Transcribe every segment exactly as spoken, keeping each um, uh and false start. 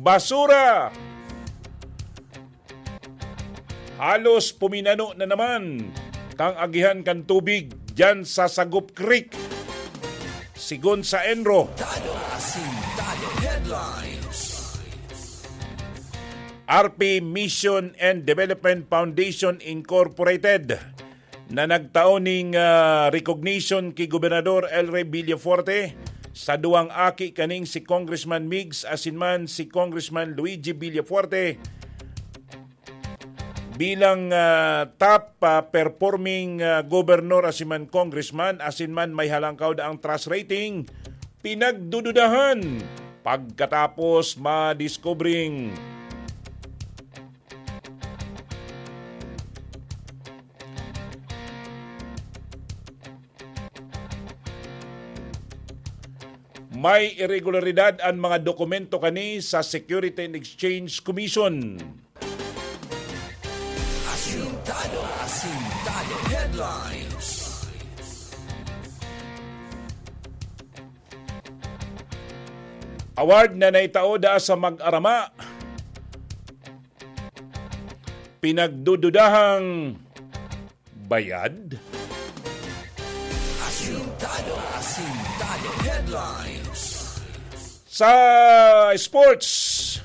Basura! Halos puminano na naman kan agihan kan tubig diyan sa Sagop Creek, sigon sa ENRO. Tado, Asintado Headlines. R P Mission and Development Foundation Incorporated na nagtao ning, ah, recognition ki Gobernador El Rey Villafuerte sa duwang aki kaning si Congressman Migs asin man si Congressman Luigi Villafuerte bilang, ah, top, ah, performing, ah, gobernador asin man congressman asin man may halangkaw daang trust rating, pinagdududahan pagkatapos madiskubring may iregularidad an mga dokumento kani sa Security and Exchange Commission. Asintado, Asintado Headlines. Award na naitao da sa mag-arama. Pinagdududahang bayad? Asintado, Asintado Headlines. Sa sports,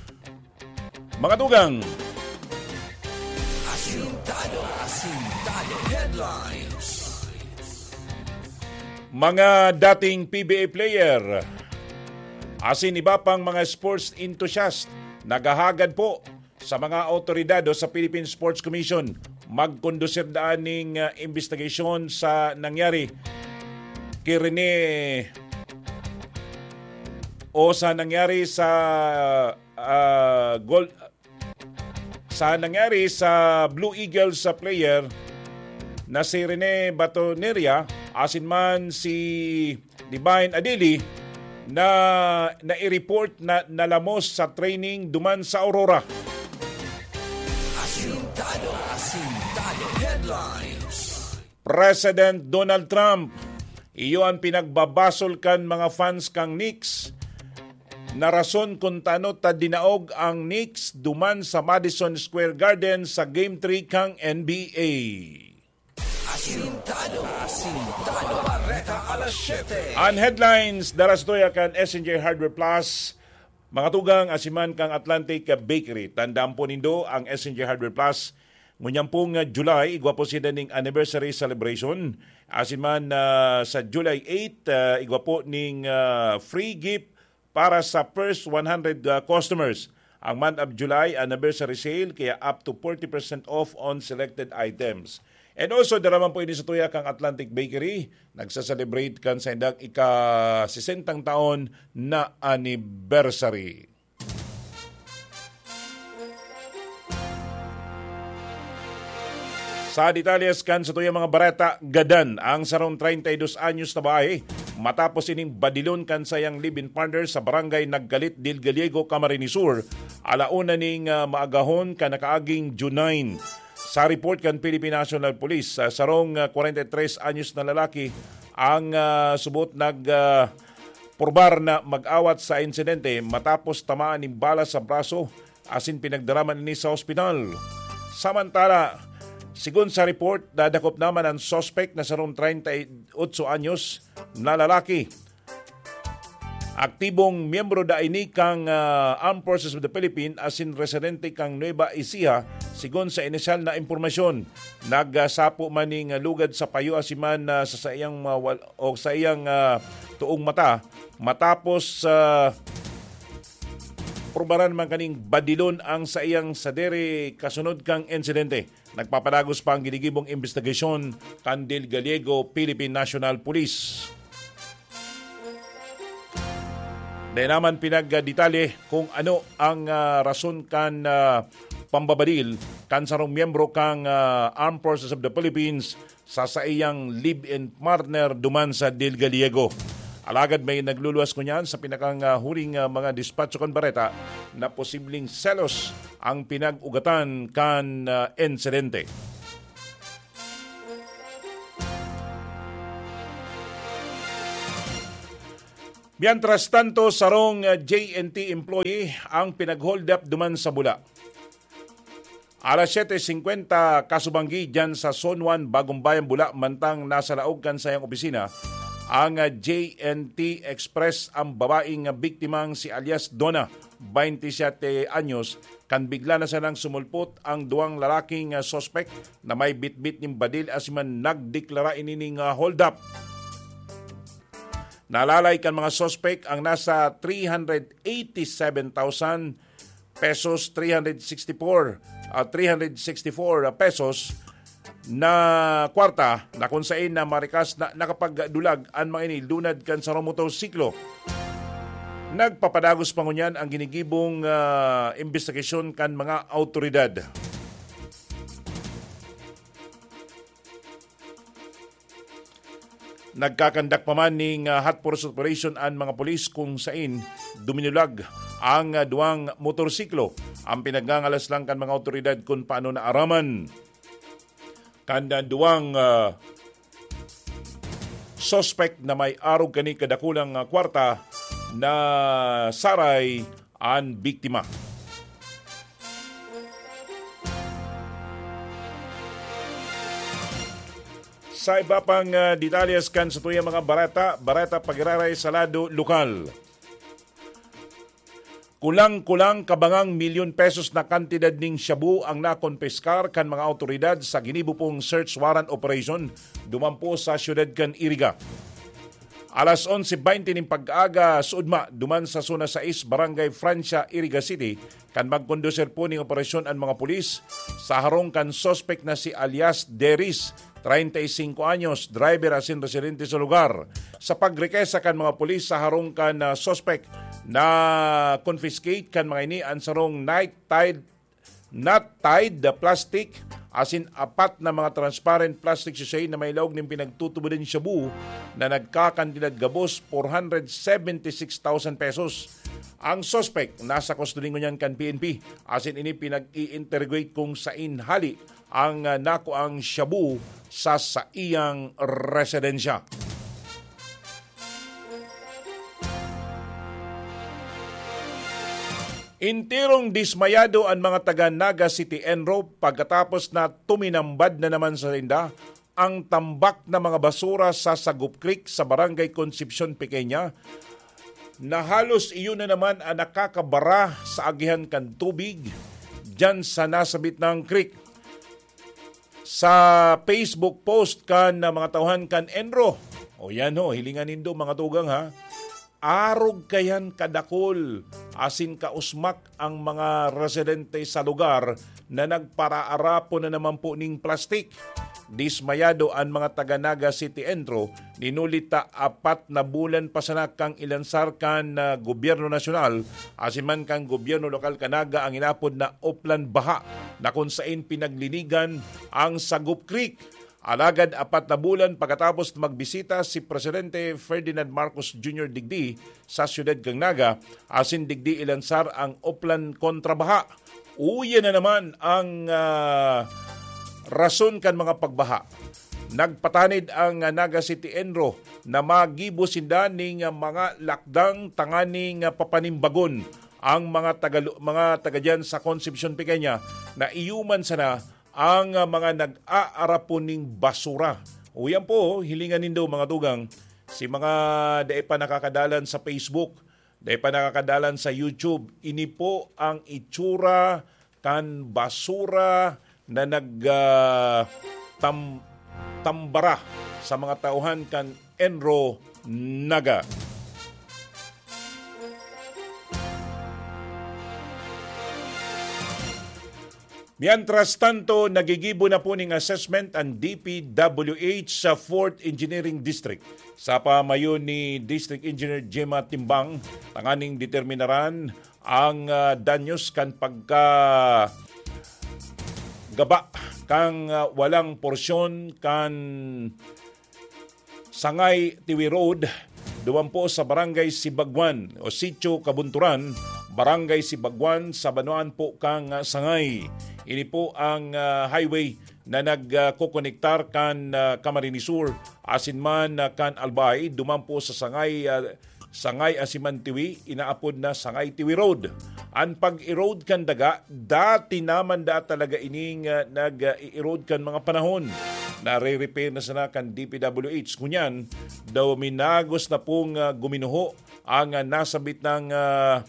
mga tugang. Asintado, Asintado Headlines. Mga dating P B A player, asin iba pang mga sports enthusiast, naghahagad po sa mga awtoridad o sa Philippine Sports Commission, magkondusir daan ning, ah, investigasyon sa nangyari ki Rene o sa nangyari sa, ah, gol-, sa nangyari sa Blue Eagles sa player na si Rene Batoneria asin man si Divine Adili na nai-report na nalamos sa training duman sa Aurora. Asintado, Asintado Headlines. President Donald Trump, iyo an pinagbabasol kan mga fans kan Knicks na rason kun tano ta dinaog ang Knicks duman sa Madison Square Garden sa Game three kan N B A. Asintado, Asintado, Bareta alas siyete. An headlines, dara sa tuya kan S N J Hardware Plus, mga tugang, asin man kan Atlantic Bakery. Tandaan po nindo ang S N J Hardware Plus. Ngunyan pong, ah, July, igwa po sila ning anniversary celebration. Asin man, ah, sa July eight, ah, igwa po ning, ah, free gift para sa first one hundred, ah, customers. Ang month of July, anniversary sale, kaya up to forty percent off on selected items. And also, dara man po ini sa tuya kang Atlantic Bakery, nagsa-celebrate kan saindang ika-sesentang taon na anniversary. Sa detalles kan satuyang mga bareta, gadan ang sarong treinta y dos anyos na babae matapos ining badilon kan sayang live-in partner sa barangay Nagkalit del Gallego, Camarines Sur, ala una ning, ah, maagahon kan nakaaging June nine. Sa report kan Philippine National Police, ah, sarong, ah, kwarenta y tres anyos na lalaki ang, ah, subot nag, ah, purbar na mag-awat sa insidente matapos tamaan nin bala sa braso asin pinagdara man ini sa ospital. Samantala, sigon sa report, nadakop naman ang suspect na sarong treinta y ocho anyos na lalaki. Aktibong miyembro da ini kang, ah, Armed Forces of the Philippines asin residente kang Nueva Ecija, sigon sa inisyal na impormasyon. Nagsapo man ning lugad sa payo asin man, ah, sa saiyang, ah, wal-, o sa iyang, ah, tuong mata matapos, ah, purbaran man kaning badilon ang saiyang sadiri kasunod kang insidente. Nagpapalagos pa ang ginigibong imbestigasyon kan Del Gallego Philippine National Police. Dai naman pinagdetalye kung ano ang, ah, rason kan, ah, pambabadil kan sarong miyembro kang, ah, Armed Forces of the Philippines sa saiyang live-in partner duman sa Del Gallego. Alagad may nagluluwas ngunyan sa pinakang, ah, huling, ah, mga dispatcho kan bareta na posibleng selos ang pinag-ugatan kan, ah, insidente. Mientras tanto, sarong, ah, J N T employee ang pinag-hold up duman sa Bula. Alas siyete singkwenta kasubanggi diyan sa Zone one, Bagong Bayan, Bula, mantang nasa laog kan sayang opisina ang, ah, J N T Express ang babaeng, ah, biktimang si alias Donna, baynte siyete anyos, kan bigla na sanang sumulpot ang duwang lalaking, ah, suspek na may bitbit nin badil asin man nagdeklara ini ning, ah, hold up. Nalalay kan mga suspek ang nasa three hundred eighty-seven thousand pesos, three hundred sixty-four, ah, three hundred sixty-four pesos na kwarta na kung sain na marikas na nakapagdulag an mga ini lunad kan sarong motorsiklo. Nagpapadagos pa ngunyan ang ginigibong, ah, imbestigasyon kan mga awtoridad. Nagkakandak pa man ning, ah, hot pursuit operation an mga pulis kung sain duminulag ang, ah, duwang motorsiklo. Ang pinagngangalas lang kan mga awtoridad kun paano naaraman kan, ah, duwang, ah, suspek na may arog kani kadakulang, ah, kwarta na saray an biktima. Sa iba pang, ah, detalyes kan satuyang mga bareta, bareta pagiraray sa lado lokal. Kulang-kulang kabangang milyon pesos na kantidad ning shabu ang nakonpiskar kan mga awtoridad sa ginibo pong search warrant operation duman po sa siyudad kan Iriga. Alas onse baynte nin pag-aga, suudma, duman sa Zona sais, Barangay Francia, Iriga City, kan magkondusir po ning operasyon an mga pulis sa harong kan suspek na si alias Deris, treinta y cinco anyos, driver asin residente sa lugar. Sa pagrekesa kan mga pulis sa harong kan, ah, suspek, na confiscate kan mga ini an sarong night tide, knot tied plastic, asin apat na mga transparent plastic sachet na may laog nin pinagtutubodan shabu na nagkakantidad gabos four hundred seventy six thousand pesos. Ang suspek nasa kustodiya ngunyan kan P N P, asin ini pinag-i-interrogate kung sain hali ang, ah, nakuang shabu sa saiyang residensya. Enterong dismayado an mga taga Naga City, ENRO, pagkatapos na tuminambad na naman sa sainda ang tambak na mga basura sa Sagop Creek sa Barangay Concepcion Pequeña, na halos iyon na naman ang nakakabara sa agihan kan tubig diyan sa nasabit na creek. Sa Facebook post kan, ah, mga tauhan kan ENRO, o yan ho, hilingan nindo, mga tugang, ha, arog kayan kadakol asin kausmak ang mga residente sa lugar na nagparaarapon na naman po ning plastik. Dismayado an mga taga Naga City ENRO, ninuli ta apat na bulan pa sana kang ilansar kan, ah, gobyerno nasyonal asin man kan gobyerno lokal kan Naga ang inapod na Oplan Baha, na kung sain pinaglinigan ang Sagop Creek. Alagad apat na bulan pagkatapos magbisita si Presidente Ferdinand Marcos Junior digdi sa siyudad kan Naga, asin digdi ilansar ang Oplan kontra baha. Uya na naman ang, ah, rason kan mga pagbaha. Nagpatanid ang, ah, Naga City ENRO na magibo sinda ning, ah, mga lakdang tanganing, ah, papanimbagon ang mga taga, mga taga diyan sa Concepcion Pequeña na iyo man sana ang, ah, mga nag-aarapon ning basura. O yan po, hilingan nindo, mga tugang, si mga dai pa nakakadalan sa Facebook, dai pa nakakadalan sa YouTube, ini po ang itsura kan basura na nag, ah, tam-, tambara sa mga tauhan kan ENRO Naga. Mientras tanto, nagigibo na po ning assessment ang D P W H sa Fourth Engineering District. Sa pamayo ni District Engineer Gemma Timbang, tanganing determinaran ang, ah, danyos kan pagka gaba kan, ah, walang porsyon kan Sangay Tiwi Road, duman po sa Barangay Sibagwan o Sitio Kabunturan, Barangay Sibagwan, sa banwaan po kan, ah, Sangay. Ini po ang, ah, highway na nagkokonektar kan, ah, Camarines Sur asin man, ah, kan Albay, duman po sa Sangay, ah, Sangay Asiman Tiwi, inaapod na Sangay Tiwi Road. An pag-erode kan daga, dati naman da talaga ining, ah, nag-i-erode kan mga panahon. Nare-repair na sana kan D P W H. Ngunyan, daw minagos na pong, ah, guminuho ang, ah, nasabit ng, ah,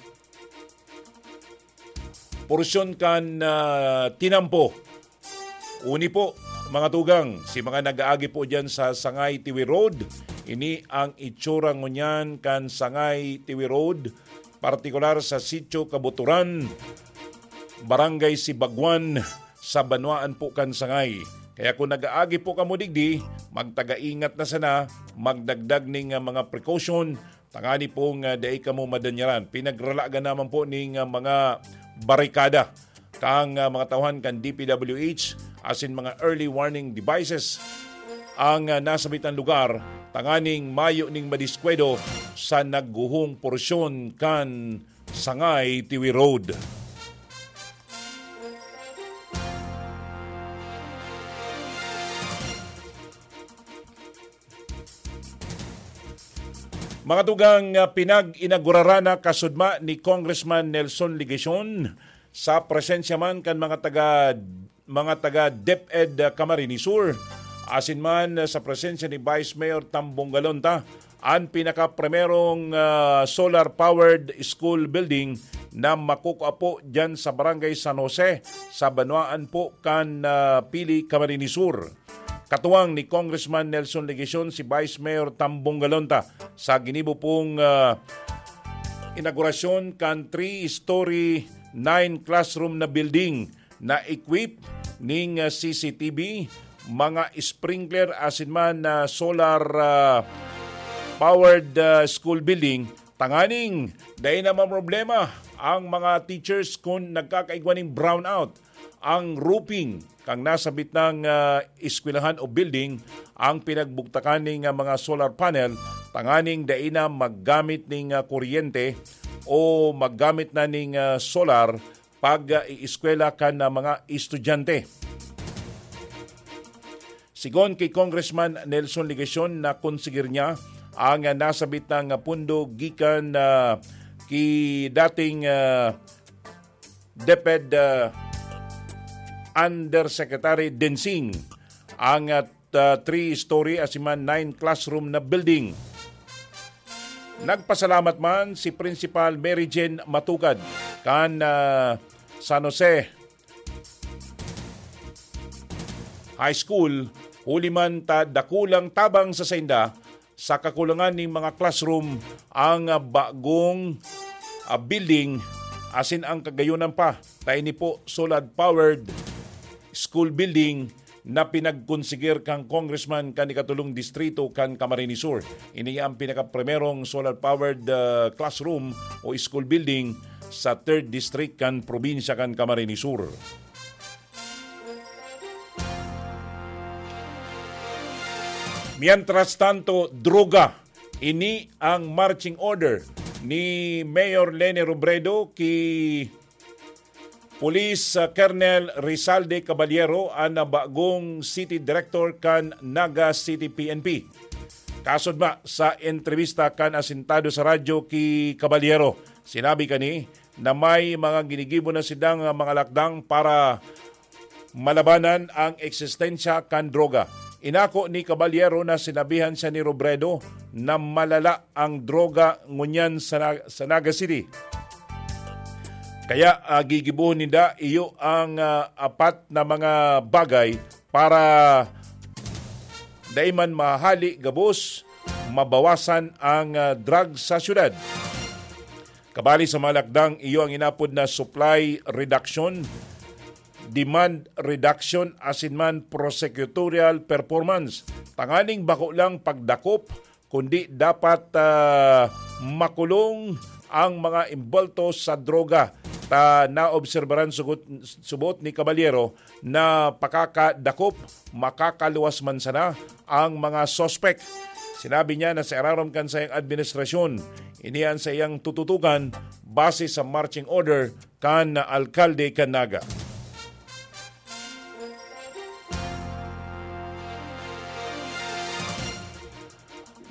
porsyon kan, ah, tinampo. Uni po, mga tugang, si mga nag-aagi po dyan sa Sangay Tiwi Road, ini ang itsura ngunyan kan Sangay Tiwi Road, partikular sa Sitio Kabuturan, Barangay Sibagwan, sa banwaan po kan Sangay. Kaya kung nag-aagi po kamo digdi, magtagaingat na sana, magdagdag ning, ah, mga precaution, tangani pong, ah, dai kamo madanyaran. Pinagralagan naman po ning, ah, mga barikada kang, ah, mga tauhan kan D P W H asin mga early warning devices ang, ah, nasabitan lugar, tanganing mayo ning madiskwedo sa nagguhong porsyon kan Sangay Tiwi Road. Mga tugang, ah, pinag-inagurara na kasudma ni Congressman Nelson Legacion sa presensya man kan mga taga, mga taga DepEd, ah, Camarines Sur, asin man, ah, sa presensya ni Vice Mayor Tambong Galonta, an pinakaprimerong, ah, solar-powered school building na makukua po diyan sa Barangay San Jose, sa banwaan po kan, ah, Pili, Camarines Sur. Katuwang ni Congressman Nelson Legacion si Vice Mayor Tambong Galonta sa ginibo pong, ah, inaugurasyon kan three-story, nine-classroom na building na equipped ning, ah, C C T V, mga sprinkler asin man, ah, solar, ah, powered, ah, school building, tanganing dai na maproblema ang mga teachers kun nagkakaigwa ning brownout. Ang roofing kan nasabit nang, ah, eskwelahan o building ang pinagbugtakan ning, ah, mga solar panel, tanganing dai na maggamit ning, ah, kuryente o maggamit na ning, ah, solar pag, ah, ieskwela kan, ah, mga estudyante. Sigon ki Congressman Nelson Legacion, nakonsigir niya ang, ah, nasabit nang, ah, pundo gikan, ah, ki dating, ah, DepEd, ah, Undersecretary Densing ang, ah, three-story asin man nine-classroom na building. Nagpasalamat man si Principal Mary Jane Matugad kan, ah, San Jose High School, huli man ta dakulang tabang sa sainda sa kakulangan ning mga classroom ang, ah, bagong, ah, building asin ang kagayonan pa ta ini po solar-powered school building na pinagkonsigir kan congressman kan ikatulong distrito kan Camarines Sur. Ini ang pinakaprimerong solar-powered, ah, classroom o school building sa third district kan probinsya kan Camarines Sur. Mientras tanto, droga. Ini ang marching order ni Mayor Leni Robredo ki Police, ah, Colonel Rizalde Caballero, an bagong city director kan Naga City P N P. Kasudma sa entrebista kan Asintado sa Radyo ki Caballero, sinabi kani na may mga ginigibo na sidang, ah, mga lakdang para malabanan ang eksistensya kan droga. Inako ni Caballero na sinabihan siya ni Robredo na malala ang droga ngunyan sa Na-, sa Naga City. Kaya, ah, gigibohon ninda iyo ang, ah, apat na mga bagay para dai man mahali gabos, mabawasan ang, ah, drug sa syudad. Kabali sa mga lakdang iyo ang inapod na supply reduction, demand reduction asin man prosecutorial performance. Tanganing bako lang pagdakop, kundi dapat, ah, makulong ang mga imbolto sa droga. Ta naobserbaran sugot, subot ni Caballero na pakakadakop, makakaluwas man sana ang mga suspek. Sinabi niya na sa irarom kan saiyang administrasyon, ini an saiyang tututukan base sa marching order kan alkalde kan Naga.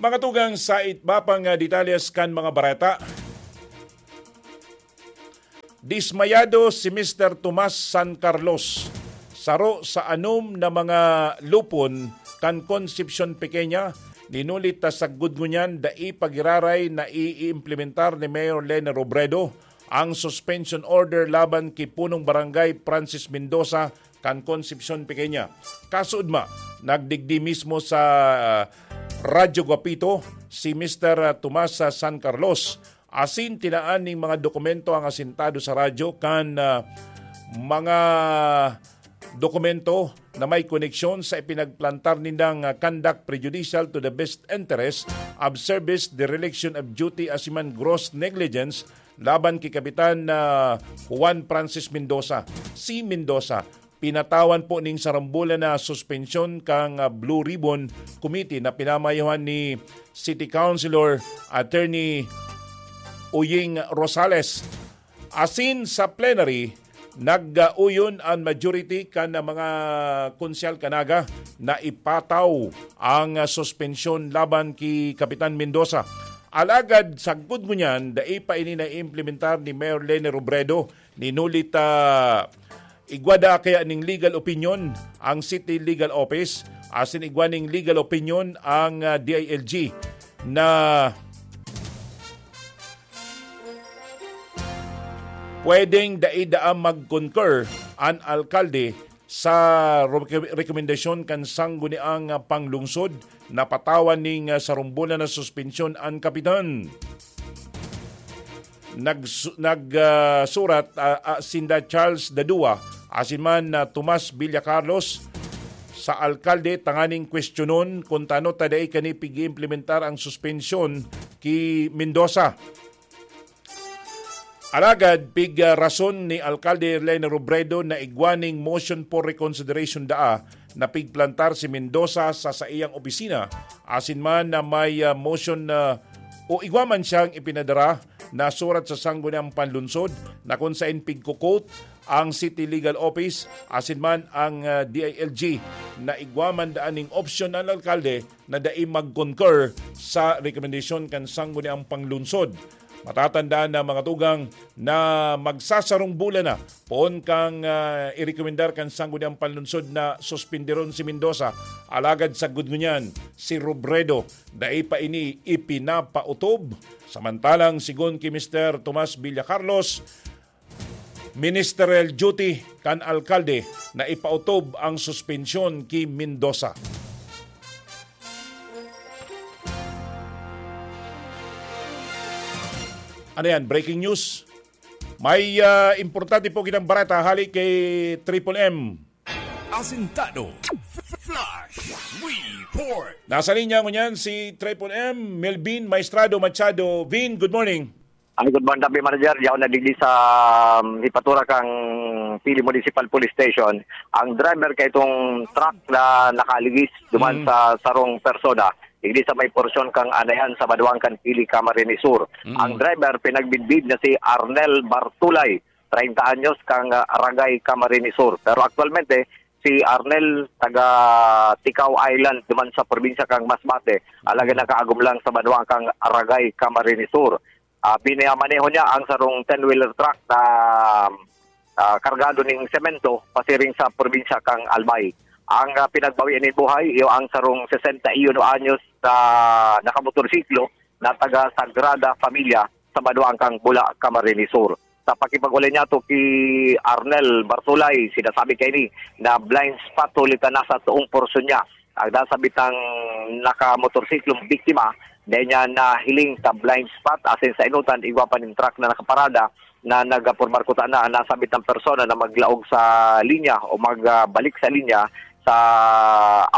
Pangatugang sa iba pang, ah, detalles kan mga bareta. Dismayado si Mister Tomas San Carlos, saro sa anom na mga lupon kan Concepcion Pequeña, ninulit ta sagkod ngunyan dai pa giraray na iimplementar ni Mayor Leni Robredo ang suspension order laban ki punong barangay Francis Mendoza kan Concepcion Pequeña. Kasuodma, nagdigdi mismo sa, ah, Radyo Guapito si Mister Tomas San Carlos, asin tinaan ning mga dokumento ang asintado sa radyo kan, ah, mga dokumento na may koneksyon sa ipinagplantar nindang, ah, conduct prejudicial to the best interest of service, dereliction of duty, asin man gross negligence laban ki Kapitan, ah, Juan Francis Mendoza. Si Mendoza, pinatawan po ning sarong bulan na suspensyon kan, ah, Blue Ribbon Committee na pinamayohan ni City Councilor Attorney Uying Rosales. Asin sa plenary, nag-uyon an majority kan mga konsyal kan Naga na ipataw ang, ah, suspensyon laban ki Kapitan Mendoza. Alagad sagkod ngunyan, dai pa ini naiimplementar ni Mayor Leni Robredo. Ninulit, ah, igwa da kaya ning legal opinion ang City Legal Office, asin igwa ning legal opinion ang, ah, D I L G na pwedeng dai daa mag-concur an alkalde sa reke-, rekomendasyon kan sangguniang panglungsod na patawan ning, ah, sarong bulan na suspensyon an kapitan. Nagsu-, nag, ah, surat, ah, ah, sinda Charles Dadua asin man, ah, Tomas Villacarlos sa alkalde tanganing kwestiyonon kun tano ta dai kani pig-iimplementar ang suspensyon ki Mendoza. Alagad pig, ah, rason ni Alkalde Leni Robredo na igwa ning motion for reconsideration daa na pigplantar si Mendoza sa saiyang opisina, asin man na may, ah, motion na o igwa man siyang ipinadara na surat sa Sangguniang Panlungsod na kun saen pigko-quote ang City Legal Office asin man ang, ah, D I L G na igwa man daan ning opsyon ang alkalde na dai mag-concur sa rekomendasyon kan Sangguniang Panlungsod. Matatandaan na, mga tugang, na magsasarong bulan na poon kang, ah, irekomendar kan Sangguniang Panlungsod na suspinderon si Mendoza. Alagad sagkod ngunyan, si Robredo dai pa ini ipinapautob. Samantalang, sigon ki Mister Tomas Villacarlos, ministerial duty kan alkalde na ipautob ang suspensyon ki Mendoza. Ano yan? Breaking news? May, ah, importante po kitang bareta hali kay Triple M. Asintado. Flash Report. Nasa linya ngunyan si Triple M, Melvin Maestrado Machado. Vin, good morning. Ay, good morning, Tabi Manager. Yaon na digdi sa, um, ipatura kang Pili Municipal Police Station. Ang driver ka itong truck na nakaligis duman Mm. sa sarong persona. Digdi sa may porsyon kang Anayan sa Baduang kan Pili, Camarines Sur. Mm. Ang driver, pinagbidbid na si Arnel Bartulay, treinta anyos, kang, ah, Ragay, Camarines Sur. Pero aktualmente, si Arnel, taga Ticao Island, duman sa probinsya kang Masbate. Alagad nakaagom lang sa Baduang kang Ragay, Camarines Sur. Ah, pinamaneho niya ang sarong ten-wheeler truck na, ah, kargado ning semento pasiring sa probinsya kang Albay. Ang, ah, pinagbawian nin buhay, iyo ang sarong sesenta y uno anyos na nakamotorsiklo na taga Sagrada Familia sa Baduang kang Bula, Camarines Sur. Sa pakipag-ulay niya to ki Arnel Bartolay, sinasabi kaini na blind spot huli ta nasa toong porsyon niya. Ang nasabitang nakamotorsiklong biktima, dai niya nahiling sa blind spot, asin sa inutan, igwa pa nin truck na nakaparada na nagapurbar kuta na ang nasabitang persona na maglaog sa linya o magbalik sa linya sa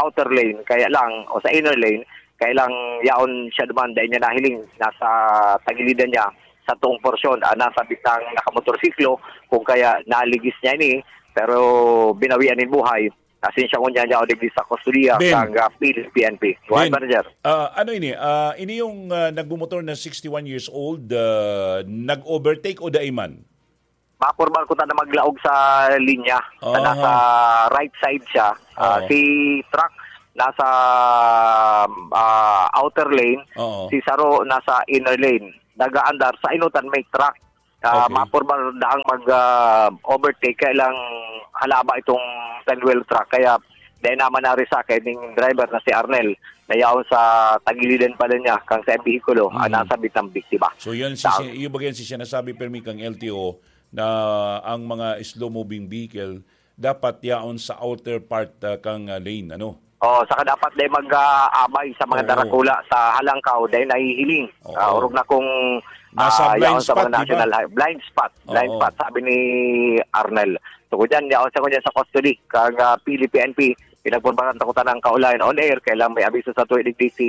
outer lane, kaya lang, o sa inner lane, kaya lang yaon siya duman, dai niya nahiling, nasa tagilidan niya sa toong porsyon ang nasabitang nakamotorsiklo, kung kaya naligis niya ini, pero binawian nin buhay. Asin siya ngunyan niya o digdi sa kustodiya Ben. Kang, ah, P N P. Go ahead, Ben, Manager. Ah, ano ini? Ah, ini yung, ah, nagmumotor na sixty-one years old, ah, nag-overtake o dai man? Mapurbar kuta na maglaog sa linya. Sa Aha. nasa right side siya. Ah, Oo. Si truck, nasa, ah, outer lane, Oo. si saro nasa inner lane. Nagaandar sa inutan may truck. Ah, Okay. Mapurba daang mag, ah, overtake, kaya lang halaba itong ten-wheel truck. Kaya dahil naman narisa kay ning driver na si Arnel, na yaon sa tagilidan pala niya, kang sa behikulo, ang Hmm. nasabit ng biktima. So, yun si, Sa si, yung bagay si sinasabi, permi kang L T O, na ang mga slow-moving vehicle, dapat yaon sa outer part, ah, kang, ah, lane, ano? Oh, saka dapat dai mag, ah, abay sa mga Oo. darakula sa halangkaw dahil nahihiling. Oo. Ah, orog na kung, Nasa ah, blind yaon sa spot, mga di ba? national high-, blind spot, blind Oo. spot, sabi ni Arnel. So, kung dyan, yaon siya ngunyan sa custody, kang, ah, Pili P N P, pinagpurbaran ta ko tanang kaulayan on air, kailang may abiso sa tuwi digdi si,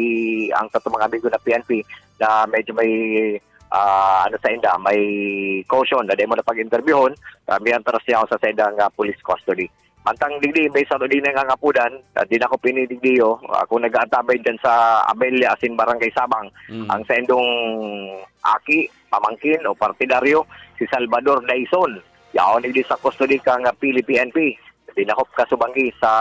ang sa mga amigo na P N P na medyo may, ah, ano sa inda, may caution na dai mo na pag-interviewon, ah, may antaras niya ako sa saindang, ah, police custody. Mantang digdi, may saro din nga ngapudan, ah, di na ko pinidigdiyo, ah, kung nag-aantabay dyan sa Abella, asin Barangay Sabang, Mm. ang saindong aki, pamangkin o partidaryo, si Salvador Daison. Yaon digdi sa custody kang, ah, Pili P N P. Di na ko kasubanggi sa,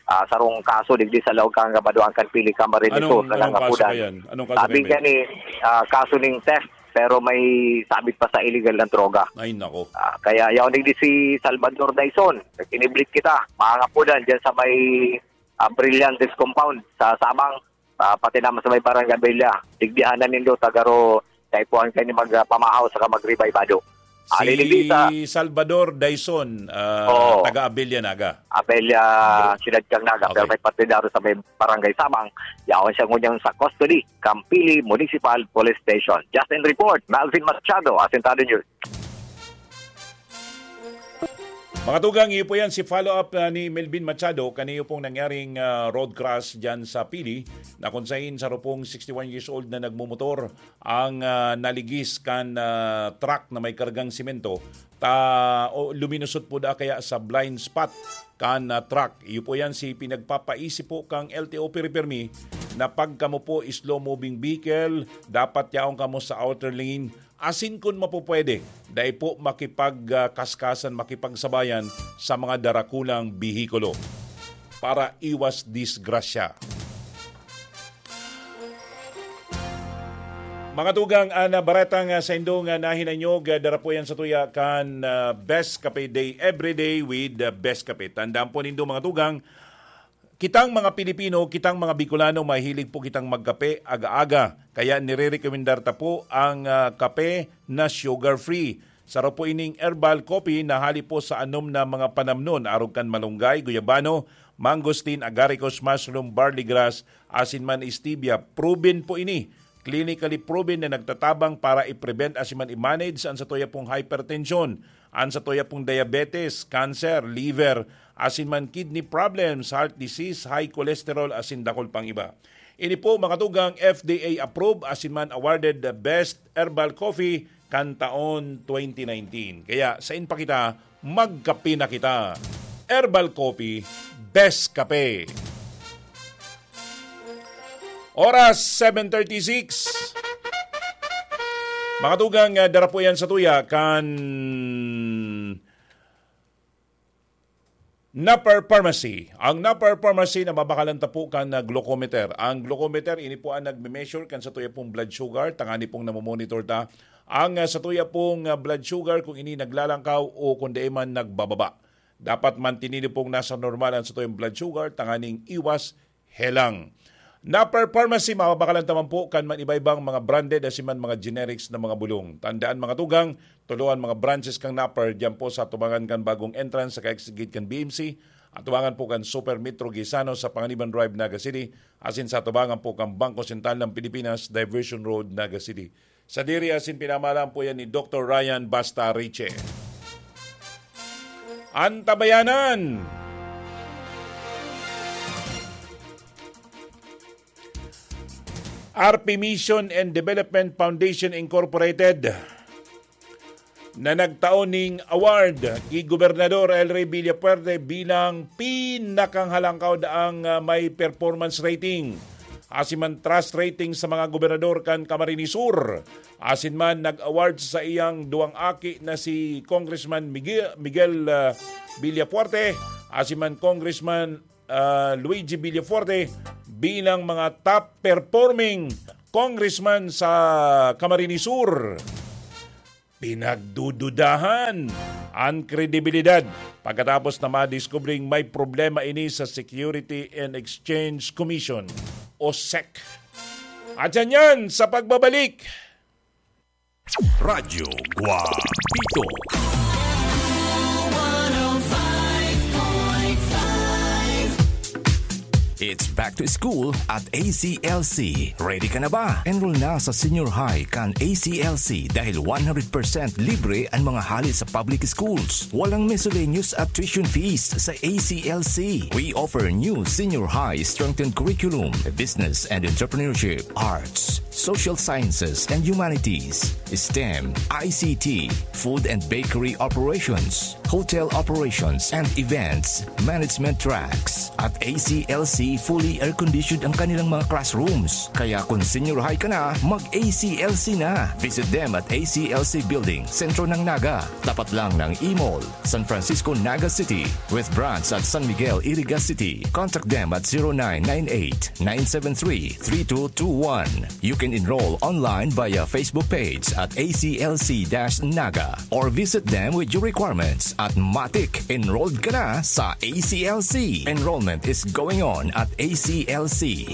ah, sarong kaso digdi sa laog kang Badoan kan Pili, Camarines Anong, Sur, na anong kaso nangapudan. pa yan? Anong kaso Sabi pa yan? gani, ah, kaso ning theft, pero may sabit pa sa illegal na droga. Ay, nako. Ah, kaya yaon digdi si Salvador Daison. Kiniblit kita, mga ngapudan, dyan sa may, ah, Brillantes Compound sa Sabang. Ah, pati naman sa may Barangay Abella. Digdihan na nindo, tagaro, kaipuhan kayo ni mag, ah, pamahaw saka magribay bado. Ah, Si Lili Lisa. Salvador Daison, ah, Oo. taga Abella, Naga. Abella, Bro. Siyudad kang Naga, pero Okay. may partidaryo sa may Barangay Sabang. Yaon siya ngunyan sa custody, Campili Municipal Police Station. Justin Report, Melvin Machado, Asintado News. Mga tugang, iyo po yan si follow-up, ah, ni Melvin Machado. Kaniyo pong nangyaring, ah, road crash dyan sa Pili, na kung sain sa rupong sixty-one years old na nagmumotor ang, ah, naligis kan, ah, truck na may kargang simento, ta-, o luminusot po da kaya sa blind spot kan, ah, truck. Iyo po yan si pinagpapaisip po kang L T O Pirmi-Pirmi na pag kamo po slow-moving vehicle, dapat yaon kamo sa outer lane. Asin kun mapupwede, dai po makipag, ah, kaskasan, makipagsabayan sa mga darakulang behikulo para iwas disgrasya. Mga tugang, an, ah, baretang, ah, saindo nga nahinanyog, ah, dara po yan sa tuya kan, ah, Best Cafe Day, every day with, ah, Best Cafe. Tandaan po nindo, mga tugang, kitang mga Pilipino, kitang mga Bicolano, mahilig po kitang magkape aga-aga. Kaya nirerekomendar ta po ang, ah, kape na sugar-free. Saro po ining herbal coffee na hali po sa anom na mga panamnon, arog kan malunggay, guyabano, mangosteen, agaricus, mushroom, barley grass, asin man stevia. Proven po ini. Clinically proven na nagtatabang para i-prevent asin man i-manage an satuya pong hypertension, an satuya pong diabetes, cancer, liver, asin man kidney problems, heart disease, high cholesterol, asin dakul pang iba. Ini po, mga tugang, F D A approved asin man awarded the best herbal coffee kan taon twenty nineteen. Kaya, sain pa kita, magkape na kita. Herbal Coffee, best kape. Oras, seven thirty-six. Mga tugang, ah, dara po yan sa tuya kan Napper Pharmacy. Ang Napper Pharmacy na mabakalan ta po kan, ah, glucometer. Ang glucometer, ini po ang nagme-measure kan sa tuya pong blood sugar, tangani pong namomonitor ta ang, ah, sa tuya pong, ah, blood sugar kung ini naglalangkaw o kung dai man nagbababa. Dapat mantinido pong nasa normal ang sa tuyang blood sugar, tanganing iwas helang. Napper Pharmacy, mababakalan ta man po kan man iba-ibang mga branded asin man mga generics na mga bulong. Tandaan, mga tugang, tulo an mga branches kan Napper diyan po sa atubangan kan bagong entrance sa kaigsigid kan B M C, atubangan po kan Super Metro Gaisano sa Panganiban Drive, Naga City, asin sa atubangan po kan Bangko Sentral ng Pilipinas, Diversion Road, Naga City. Sadiri asin pinamahalaan po yan ni Doktor Ryan Basta Riche. Antabayanan! R P Mission and Development Foundation Incorporated na nagtao ning award ki Gobernador El Rey Villafuerte bilang pinakanghalangkaw daang, ah, may performance rating asin man trust rating sa mga gobernador kan Camarines Sur. Asin man nag-award sa iyang duwang aki na si Congressman Miguel, Miguel, ah, Villafuerte asin man Congressman ah, Luigi Villafuerte bilang mga top performing congressman sa Camarines Sur. Pinagdududahan ang kredibilidad pagkatapos na madiskubring may problema ini sa Security and Exchange Commission o sec. At yan yan sa pagbabalik. Radyo Guapito. It's back to school at A C L C. Ready ka na ba? Enroll na sa senior high kan A C L C dahil one hundred percent libre ang mga hali sa public schools. Walang miscellaneous at tuition fees sa A C L C. We offer new senior high strengthened curriculum, business and entrepreneurship, arts, social sciences and humanities, STEM, I C T, food and bakery operations, hotel operations and events, management tracks. At A C L C, fully air-conditioned ang kanilang mga classrooms. Kaya kung senior high ka na, mag-A C L C na. Visit them at A C L C Building, Sentro ng Naga, tapat lang ng E-Mall, San Francisco, Naga City, with branch at San Miguel, Iriga City. Contact them at zero nine nine eight, nine seven three, three two two one. You can enroll online via Facebook page at A C L C dash Naga or visit them with your requirements at matik. Enrolled ka na sa A C L C. Enrollment is going on at A C L C.